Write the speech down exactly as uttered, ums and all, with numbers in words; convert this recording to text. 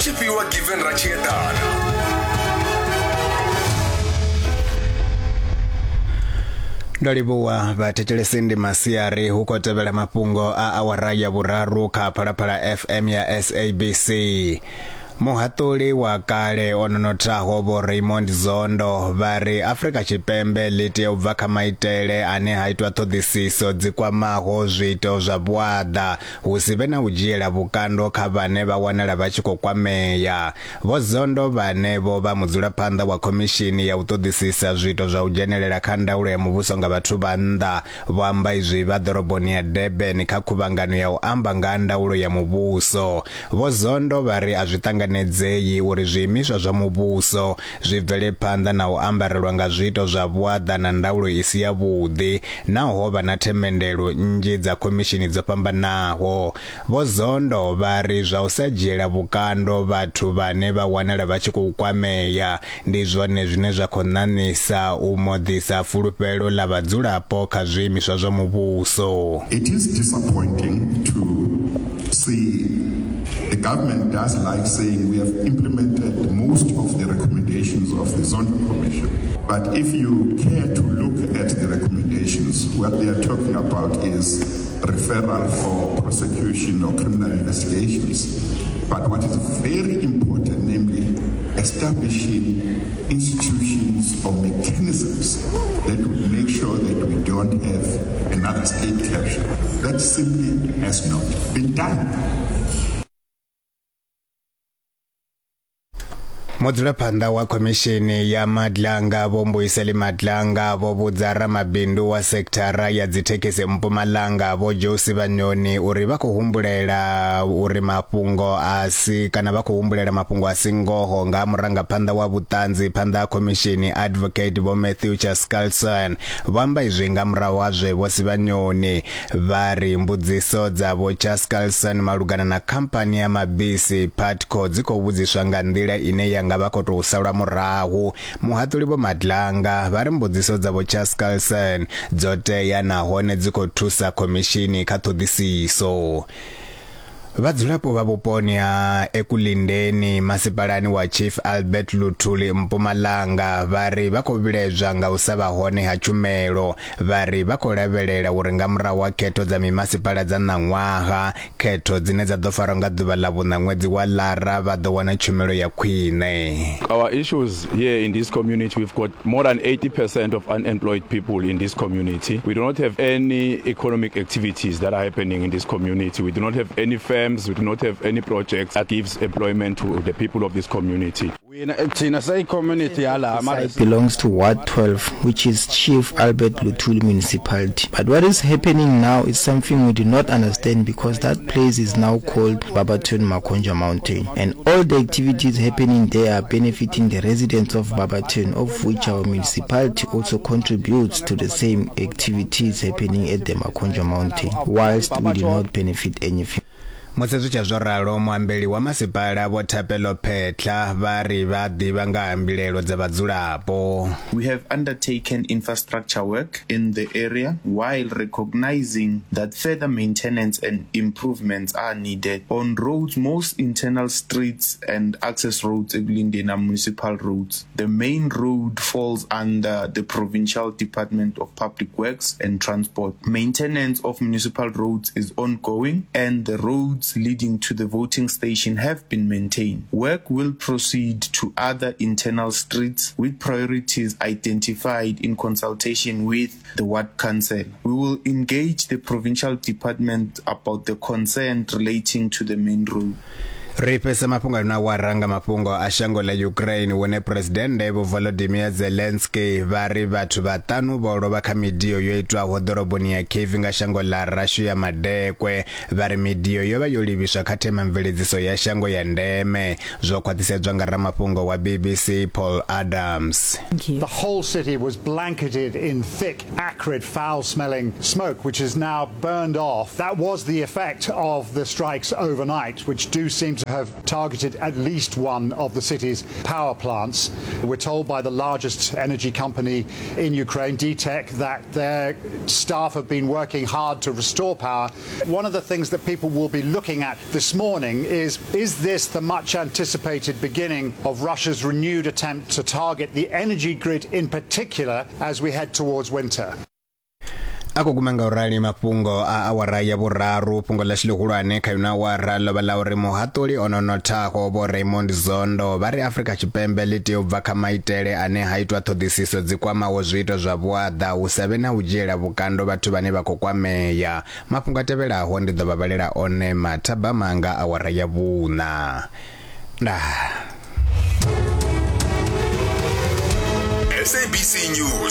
Tshifhiwa Given Ratshiedana. Ndo livhuwa vhathetshelesi, ndi masiari hu khou tevhela mafhungo a awara ya vhuraru kha Phalaphala F M ya S A B C. Muhaṱuli wa kale o nonothaho Vho Raymond Zondo vha ri Afrika Tshipembe ḽi tea u bva kha maitele ane ha itwa ṱhoḓisiso dzi kwamaho zwiito zwa vhuaḓa hu si vhe na u dzhiela vhukando kha vhane vha wanala vha tshi khou kwamea. Vho Zondo vhane vho vha mudzulaphanḓa wa khomishini ya u ṱoḓisisa zwiito zwa u dzhenelela kha ndaulo ya muvhuso nga vhathu vha nnḓa vho amba izwi vha ḓoroboni ya Durban kha khuvhangano ya u amba nga ndaulo ya muvhuso. Vho Zondo vha ri a zwi ṱanganedzei uri zwiimiswa zwa muvhuso zwi bvele phanḓa na u ambarelwa nga zwiito zwa vhuaḓa na ndaulo i si yavhuḓi naho vha na themendelo nnzhi dza khomishini dzo fhambanaho. Vho Zondo vha ri zwa u sa dzhiela vhukando vhathu vhane vha wanala vha tshi khou kwamea ndi zwone zwine zwa khou ṋaṋisa u moḓisa fulufhelo ḽa vhadzulapo kha zwiimiswa zwa muvhuso. It is disappointing to see the government does like saying we have implemented most of the recommendations of the Zondo Commission. But if you care to look at the recommendations, what they are talking about is referral for prosecution or criminal investigations. But what is very important, namely establishing institutions or mechanisms that would make sure that we don't have another state capture, that simply has not been done. Mudzulaphanḓa wa khomishini ya Madlanga Vho Mbuyiseli Madlanga vho vhudza ramabindu wa sekithara ya dzithekhisi Mpumalanga Vho Joe Sibanyoni uri vha khou humbulela uri mafhungo a si kana vha khou humbulela mafhungo a si ngoho nga murangaphanḓa wa vhuṱanzi phanḓa ha khomishini Advocate Vho Matthew Chaskalson. Vho amba izwi nga murahu ha zwe Vho Sibanyoni vha ri mbudziso dza Vho Chaskalson malugana na khamphani ya mabisi Putco dzi khou vhudziswa nga nḓila ine ya nga vha khou tou salwa murahu. Muhaṱuli Vho Madlanga vha ri mbudziso dza Vho Chaskalson dzo tea nahone dzi khou thusa khomishini kha ṱhoḓisiso. Vhadzulapo vha vhuponi ha Ekulindeni masipalani wa Chief Albert Luthuli Mpumalanga vha ri vha khou vhiledzwa nga u sa vha hone ha tshumelo. Vha ri vha khou lavhelela uri nga murahu ha khetho dza mimasipala dza ṋaṅwaha, khetho dzine dza ḓo farwa nga ḓuvha ḽa vhuṋa ṅwedzi wa Lara, vha ḓo wana tshumelo ya khwine. Our issues here in this community, we've got more than eighty percent of unemployed people in this community. We do not have any economic activities that are happening in this community. We do not have any firms. We do not have any projects that gives employment to the people of this community. It belongs to Ward twelve, which is Chief Albert Luthuli Municipality. But what is happening now is something we do not understand, because that place is now called Barberton Makonja Mountain. And all the activities happening there are benefiting the residents of Barberton, of which our municipality also contributes to the same activities happening at the Makonja Mountain, whilst we do not benefit anything. Musi zwi tsha zwo ralo, muambeli wa masipala Vho Thapelo Phetla vha ri vha ḓivha nga ha mbilelo dza vhadzulapo. We have undertaken infrastructure work in the area while recognizing that further maintenance and improvements are needed on roads, most internal streets and access roads, Ekulindeni are municipal roads. The main road falls under the Provincial Department of Public Works and Transport. Maintenance of municipal roads is ongoing, and the roads leading to the voting station have been maintained. Work will proceed to other internal streets with priorities identified in consultation with the ward council. We will engage the provincial department about the concern relating to the main road. Ri fhesa mafhungo na waranga mafhungo a shango ḽa Ukraine, hune Presidennde Vho Volodymyr Zelensky vha ri vhathu vhaṱanu vho lovha kha midio yo itwaho ḓoroboni ya Kyiv nga shango ḽa Russia madekwe. Vha ri midio yo vha yo livhiswa kha themamveledziso ya shango ya ndeme. Zwo khwaṱhisedzwa nga ramafhungo wa B B C Paul Adams. The whole city was blanketed in thick, acrid, foul-smelling smoke, which is now burned off. That was the effect of the strikes overnight, which do seem to to have targeted at least one of the city's power plants. We're told by the largest energy company in Ukraine, D T E C, that their staff have been working hard to restore power. One of the things that people will be looking at this morning is, is this the much anticipated beginning of Russia's renewed attempt to target the energy grid in particular as we head towards winter? Ako guma nga urali mafhungo a awara ya vhuraru. Fhungo ḽashu ḽihulwane kha ino awara ḽo vha ḽa uri muhaṱuli o no nothaho Vho Raymond Zondo vha ri Afrika Tshipembe ḽi tea u bva kha maitele ane ha itwa ṱhoḓisiso dzi kwamaho zwiito zwa vhuaḓa hu sa vhe na u dzhiela vhukando vhathu vhane vha khou kwamea. Mafhungo a tevhelaho ndi ḓo vha vhalela one mathabama nga awara ya vhuṋa. Ndaa. S A B C News.